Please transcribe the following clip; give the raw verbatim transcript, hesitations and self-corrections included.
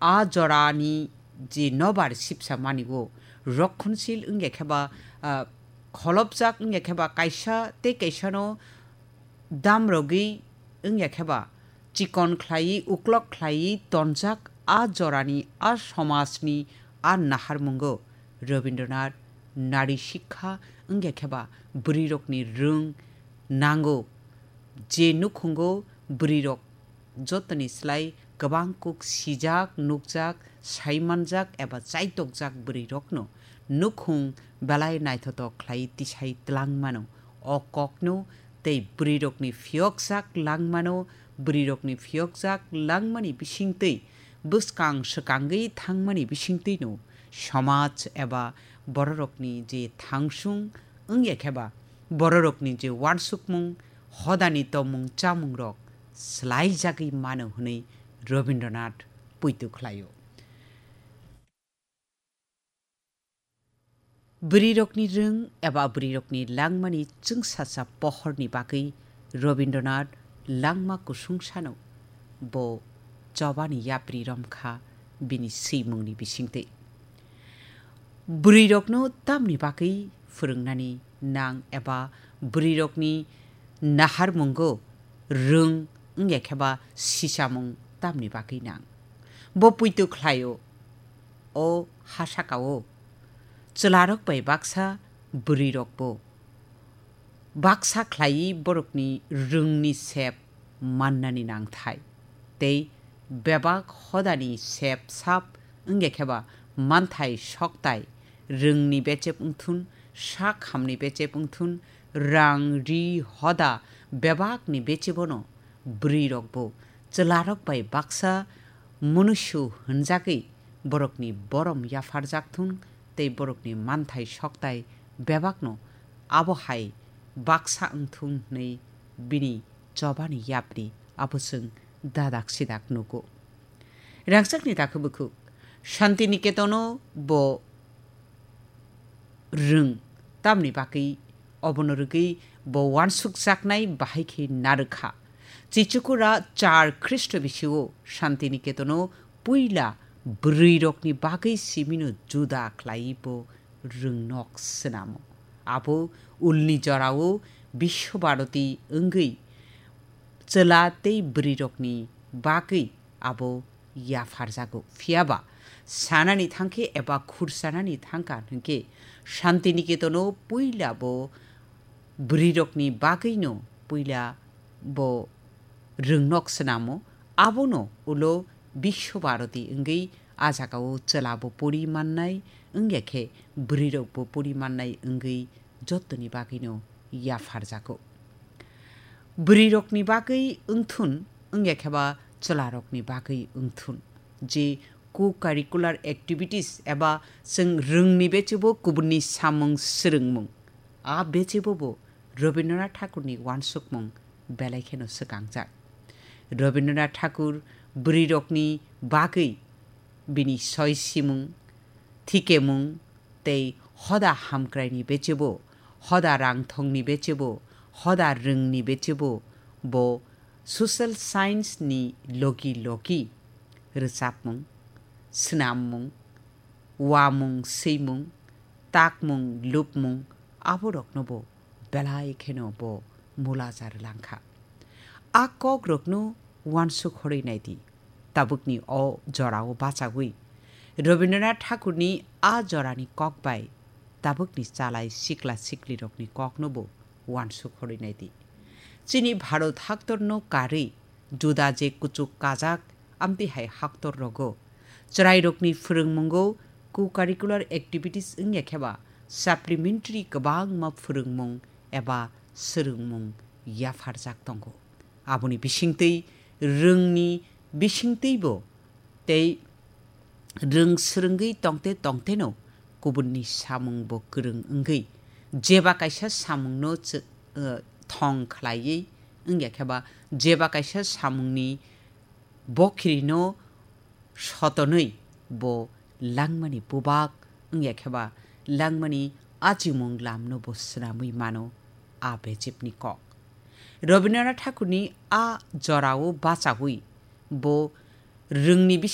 a jorani je nobar sipsa mani o, rokhonsil wngya khe ba, ah, kholopjak wngya khe ba kaisa tei kaisano damrogwi wngya khe ba chikon khlaiwi uklok khlaiwi tonjak a jorani a somajni a naharmungo Rabindranath nari sikha wngya khe ba bwrwirokni rwng nango je nukhungo bwrwirok jotoni slai kwbang kuk sijak, nukjak, saimanjak eba chaitokjak bwrwirokno nukhung belai naithotok khlai tisai tlang mano. O kokno tei bwrwirokni phiyokjak langmano, bwrwirokni phiyokjak langmani bisingtwi bwskang swkangwi thangmani bisingtwino somaj eba bororokni je thangsung wngya khe ba bororokni je uansukmung, hodani tongmung chamungrok swlaijagwi mano hwnwi Rabindranath poito khlaio. Bwrwirokni rwng eba bwrwirokni langmani chwngsacha pohorni bagwi Rabindranath langma kusung sano bo chobani yapri romkha bini swimungni bisingtwi. Bwrwirokno tamni bagwi phwrwngnani nang eba bwrwirokni naharmungo rwng wngya khe ba sichamung tamni bagwi nang? Bo poito khlaio, o ha saka-o chwlarok bai baksa bwrwirokbo baksa khlaiwi borokni rwngni sep mannani nangthai. Tei bebak hodani sep sap wngya khe ba manthai soktai, rwngni bechep wngthun, sak hamni bechep wngthun, rang, ri, hoda bebakni bechebono bwrwirokbo chwlarok bai baksa munusu hwnjagwi borokni borom yapharjak thung tei borokni manthai soktai bebakno abo hai baksa wng thung hwnwi bini chobani yapri abo chwng dadak sidak nugo. Rangchakni takhuk bukhuk Shantiniketon-o bo rwng, tamni bagwi obono rwgwi bo uansukjaknai bahai khe narwkha. Chichukura char Khristo bisio Shantiniketon-o puila bwrwirokni bagwi simino juda khlaiwi bo rwngnok swnamo. Abo ulni jorao Biswabharati wngwi chwla tei bwrwirokni bagwi abo yapharjago. Phiya ba sanani thang khe eba khursanani thang kha hwn khe Shantiniketon-o puila bo bwrwirokni bagwino puila bo rwngnok swnamo, abono ulo Biswabharati wngwi a jagao chwlabo pori mannai, wngya khe bwrwirokbo pori mannai wngwi jottoni bagwino yapharjago. Bwrwirokni bagwi wngthun, wngya khe ba chwlarokni bagwi wngthun. Je co-curricular activities eba chwng rwngni bechebo kubunni samung swrwngmung, a bechebo bo Rabindranath Thakurni uansukmung belai kheno swkangjak. Rabindranath Thakur bwrwirokni bagwi bini soi simung, thikemung tei hoda hamkraini bechebo, hoda rangthongni bechebo, hoda rwngni bechebo bo social science ni logi logi rwchapmung, swnammung, uamung swimung, takmung lupmung aborokno bo belai kheno bo mulaja rwlangkha. A kokrokno uansuk horwi naidi. Tabukni o jorao bachagwi Rabindranath Thakurni a jorani kok bai tabukni chalai sikla siklirokni kokno bo uansuk horwi naidi. Chini Bharat haktorno karwi juda je kuchuk kajak amtwi hai haktor rogo chwrairokni phwrwngmungo co-curricular activities wngya khe ba supplementary kwbangma phwrwngmung eba swrwngmung yapharjak tongo. Aboni bisingtwi rwngni bisingtwibo tei rwng swrwngwi tongte tongteno kubunni samungbo kwrwng wngwi jeba kaisa samungno chw-, eh, thong khlaiwi wngya khe ba jeba kaisa samungni bokhirino sotonwi bo langmani bubak wngya khe ba langmani achimung lamno bo swnamwi mano a bejepni kok. Rabindranath Thakurni a jorao bachagwi bo rwngni bising